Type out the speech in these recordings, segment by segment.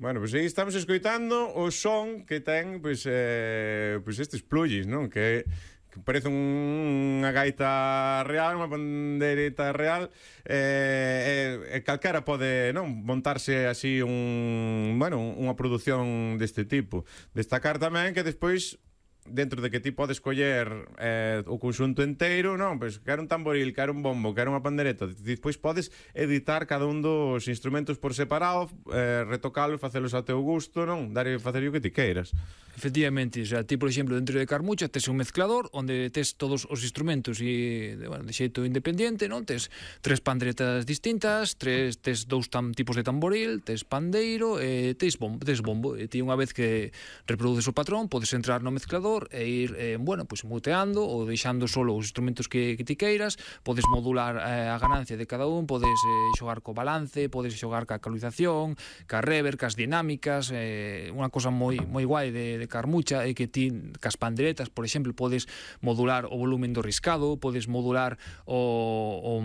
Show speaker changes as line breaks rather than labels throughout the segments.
Bueno, pois aí estamos escoitando o son que ten pois estes plugins, non? Que parece unha gaita real, unha pandeireta real, calquera pode, non, montarse así unha produción deste tipo. Destacar tamén que despois, dentro de que ti podes coller o conxunto inteiro, non, pois quero un tamboril, quero un bombo, quero unha pandereta, despois podes editar cada un dos instrumentos por separado, retocalos, facelos ao teu gusto, non, facer o que ti queiras.
Efectivamente, o sea, ti, por exemplo, dentro de Carmucha tes un mezclador onde tes todos os instrumentos e, bueno, de xeito independiente, non? Tes 3 panderetas distintas, tes 2 tipos de tamboril, tes pandeiro e tes bombo. E ti, unha vez que reproduces o patrón, podes entrar no mezclador e ir, pues muteando ou deixando solo os instrumentos que ti queiras, podes modular a ganancia de cada un, podes xogar co balance, podes xogar ca ecualización, ca reverb, cas dinámicas, unha cosa moi guai de Carmucha é que ti, cas panderetas, por exemplo, podes modular o volumen do riscado, podes modular o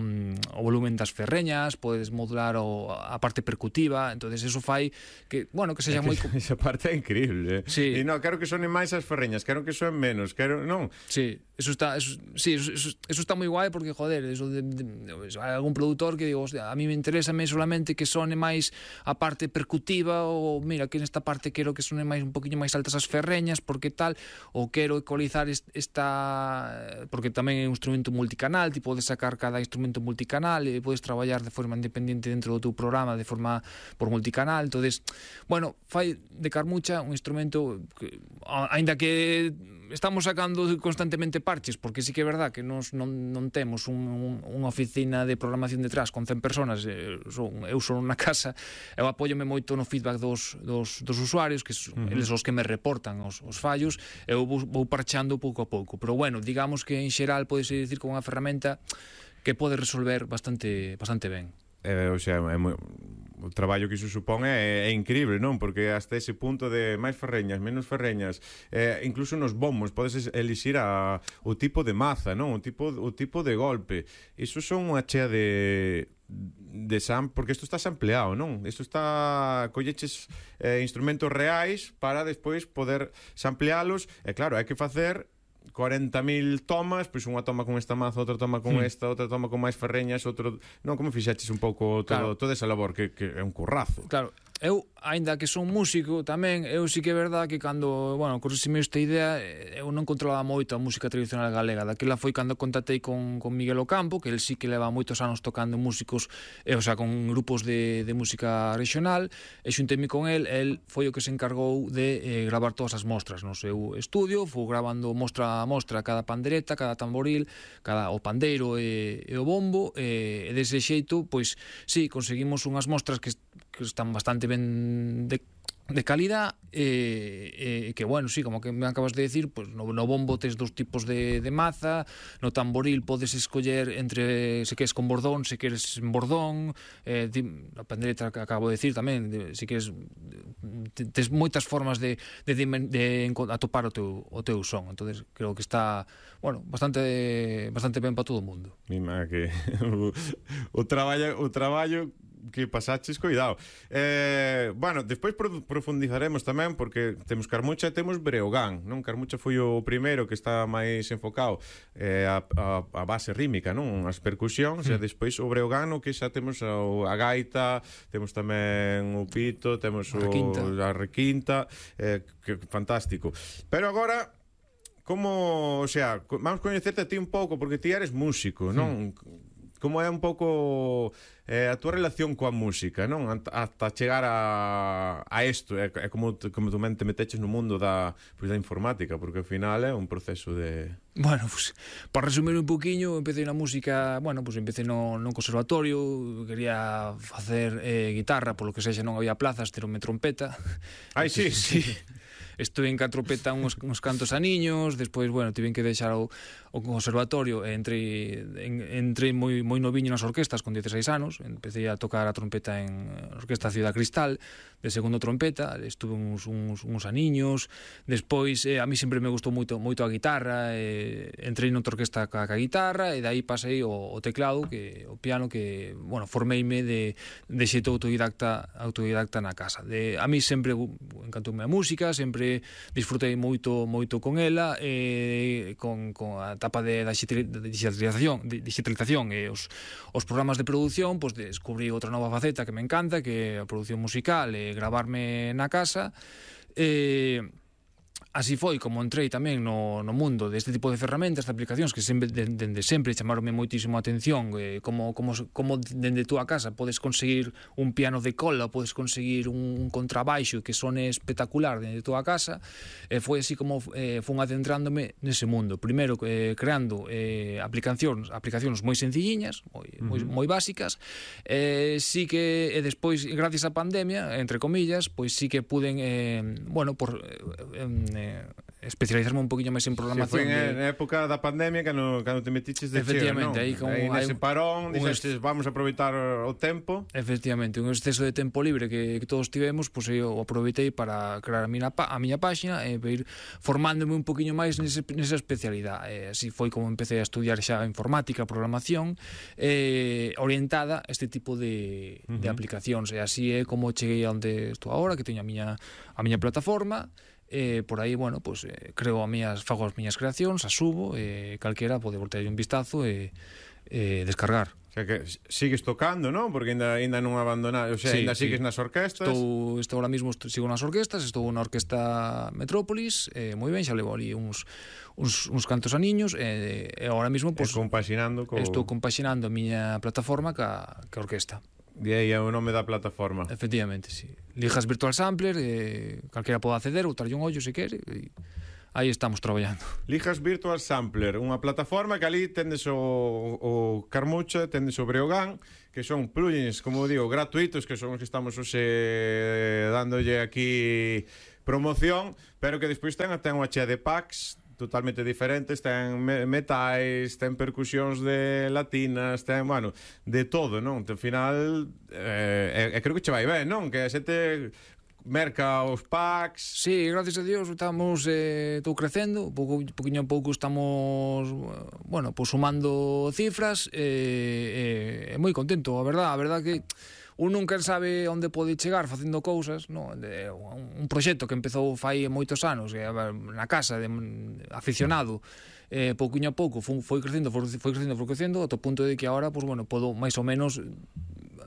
volumen das ferreñas, podes modular a parte percutiva, entonces eso fai que, bueno, que sexa moi...
Esa parte é increíble,
Sí.
E non, quero que sonen máis as ferreñas, quero que sonen menos, non?
Sí, eso está moi guai porque, joder, eso hai algún produtor que digo, hostia, a mí me interesa solamente que sone máis a parte percutiva, ou mira, que nesta parte quero que sone máis un poquinho máis altas as ferreñas, porque tal, ou quero ecualizar esta, porque tamén é un instrumento multicanal, ti podes sacar cada instrumento multicanal e podes traballar de forma independiente dentro do teu programa de forma por multicanal. Entonces, bueno, fai de Carmucha un instrumento que, aínda que estamos sacando constantemente parches, porque sí que é verdad que non temos unha oficina de programación detrás con 100 personas, eu son na casa, eu apóiome moito no feedback dos usuarios, que eles os que me reportan os fallos, eu vou parchando pouco a pouco, pero bueno, digamos que en xeral podes dicir con unha ferramenta que pode resolver bastante ben.
O sea, o traballo que iso supón é increíble, non? Porque hasta ese punto de máis ferreñas, menos ferreñas, incluso nos bombos podes elixir o tipo de maza, non? O tipo de golpe. Iso son unha chea de porque isto está sampleado, non? Isto está colleches instrumentos reais para despois poder samplealos, e claro, hai que facer 40.000 tomas, pois unha toma con esta maza, outra toma con esta, outra toma con máis ferreñas, non, como fixaches un pouco toda esa labor que é un currazo.
Claro, eu, aínda que son músico tamén, eu sí que é verdad que cando, bueno, corrixime esta idea, eu non controlaba moito a música tradicional galega. Daquela foi cando contactei con Miguel Ocampo, que el sí que leva moitos anos tocando músicos, o sea, con grupos de música regional, e xuntei-me con el foi o que se encargou de gravar todas as mostras no seu estudio, foi gravando mostra a mostra cada pandereta, cada tamboril, o pandeiro e o bombo, e dese xeito, pois, sí, conseguimos unhas mostras que están bastante ben de calidad, que, bueno, sí, como que me acabas de decir, pues no bombo tes 2 tipos de maza, no tamboril podes escoller entre se queres con bordón, se queres en bordón, a pandereta que acabo de decir tamén, se queres, tes moitas formas de atopar o teu son. Entonces creo que está, bueno, bastante ben para todo o mundo.
Mima que o traballo que pasaches, cuidado. Bueno, despois profundizaremos tamén, porque temos Carmucha e temos Breogán, non? Carmucha foi o primeiro que está máis enfocado a base rítmica, non? As percusións, e despois o Breogán, no que xa temos a gaita, temos tamén o pito, temos a requinta, que fantástico. Pero agora, como, o sea, vamos coñecerte a ti un pouco, porque ti eres músico, non? Como é un pouco a túa relación coa música, non? Hasta chegar a isto, é como tú te meteches no mundo da informática, porque ao final é un proceso de...
Bueno, pues, para resumir un poquinho, empecé na música, bueno, pues empecé no conservatorio, quería facer guitarra, polo que sexa non había plazas, teronme trompeta.
Ai, sí.
Estuve en trompeta uns cantos aniños, despois, bueno, tiven que deixar o conservatorio e entrei moi noviño nas orquestas con 16 anos, empecé a tocar a trompeta en Orquesta Ciudad Cristal, segundo trompeta, estuve uns aniños, despois a mí sempre me gustou moito a guitarra, entrei noutra orquesta ca guitarra e dai pasei o teclado, o piano, que, bueno, formeime de xeito autodidacta na casa. A mí sempre encantoume a música, sempre disfrutei moito con ela, con a etapa da digitalización e os programas de produción, pois descubrí outra nova faceta que me encanta, que é a produción musical e gravarme na casa. Así foi como entrei tamén no mundo deste tipo de ferramentas, de aplicacións que dende sempre chamaronme moitísimo a atención, como dende túa casa podes conseguir un piano de cola, podes conseguir un contrabaixo que sone espectacular dende túa casa. Foi así como fun adentrándome nese mundo, primeiro creando aplicacións moi sencilliñas, moi básicas, sí que despois, gracias á pandemia, entre comillas, pois sí que puden especializarme un poquinho máis en programación.
Foi na época da pandemia cando te metiches de cheo, non? Aí nese parón, dixestes, vamos a aproveitar o tempo.
Efectivamente, un exceso de tempo libre que todos tivemos, pois eu aproveitei para crear a miña páxina e ir formándome un poquinho máis nesa especialidade. Así foi como empecé a estudiar xa informática, programación, orientada a este tipo de aplicacións. E así é como cheguei a onde estou agora, que teño a miña plataforma. Por aí, bueno, pues, fago as miñas creacións, as subo, calquera pode voltar un vistazo e descargar.
O sea que sigues tocando, non? Porque ainda non abandonas, o sea, ainda sigues nas orquestas.
Estou ahora mismo sigo nas orquestas, estou na Orquesta Metrópolis, moi ben, xa levo ali uns cantos aniños, e ahora mismo pues, estou compaxinando a miña plataforma ca orquesta.
E aí é o nome da plataforma.
Efectivamente, sí. Lijas Virtual Sampler, calquera pode acceder ou darlle un ollo se quere, e aí estamos traballando.
Lijas Virtual Sampler, unha plataforma que ali tendes o Carmucha, tendes o Breogán, que son plugins, como digo, gratuitos, que son os que estamos hoxe dándolle aquí promoción, pero que despois ten unha chea de packs totalmente diferentes, ten metais, ten percusións de latinas, ten, bueno, de todo, non? Ao final, creo que che vai ben, non? Que a xente merca os packs.
Sí, gracias a Dios estou crecendo, poquinho a pouco estamos, bueno, pues sumando cifras, moi contento, a verdad que un nunca sabe onde pode chegar facendo cousas, no? Un proxecto que empezou fai moitos anos, na casa, aficionado, pouquinho a pouco foi crecendo ata o punto de que agora, pues, bueno, podo máis ou menos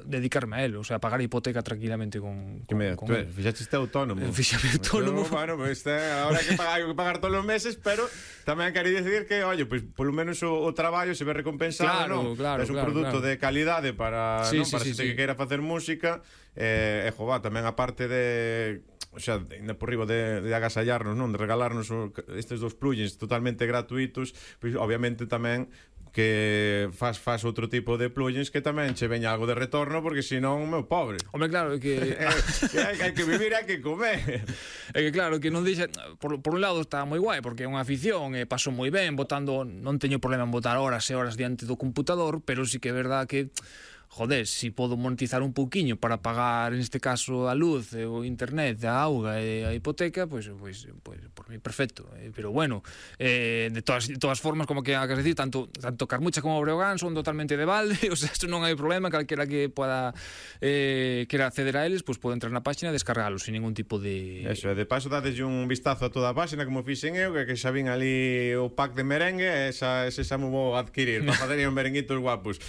dedicarme a él, o sea, pagar a hipoteca tranquilamente con
fixaste autónomo.
Fixame autónomo.
Bueno, pues ahora hai que pagar todos os meses, pero tamén quero dicir que, oye, pues polo menos o traballo se ve recompensado, non?
Claro,
é un produto de calidade para xente que queira facer música, tamén a parte de, o sea, ainda por riba de agasallarnos, non, de regalarnos estes dos plugins totalmente gratuitos, pois obviamente tamén que faz outro tipo de plugins que tamén che veña algo de retorno, porque senón, meu pobre.
Hombre, claro, que
hai que vivir, hai que comer.
É que claro, que non deixa, por un lado está moi guai, porque é unha afición, paso moi ben botando, non teño problema en botar horas e horas diante do computador, pero sí que é verdad que joder, si podo monetizar un pouquiño para pagar, neste caso, a luz, o internet, a auga e a hipoteca, pois por mí perfecto. Pero bueno, de todas formas, como que acabas de decir, tanto Carmucha como Breogán son totalmente de balde, o sea, eso non hai problema, calquera que poda quera acceder a eles, pois pode entrar na página e descargalos sin ningún tipo de...
Eso, de paso dadeslle un vistazo a toda a página, como fixen eu, que xa vin ali o pack de merengue, ese xa me vou adquirir, para facer un merenguitos guapos.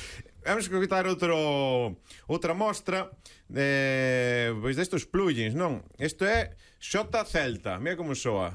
Vamos a quitar outra mostra pois destos plugins, non? Isto é Xota Celta, mira como soa.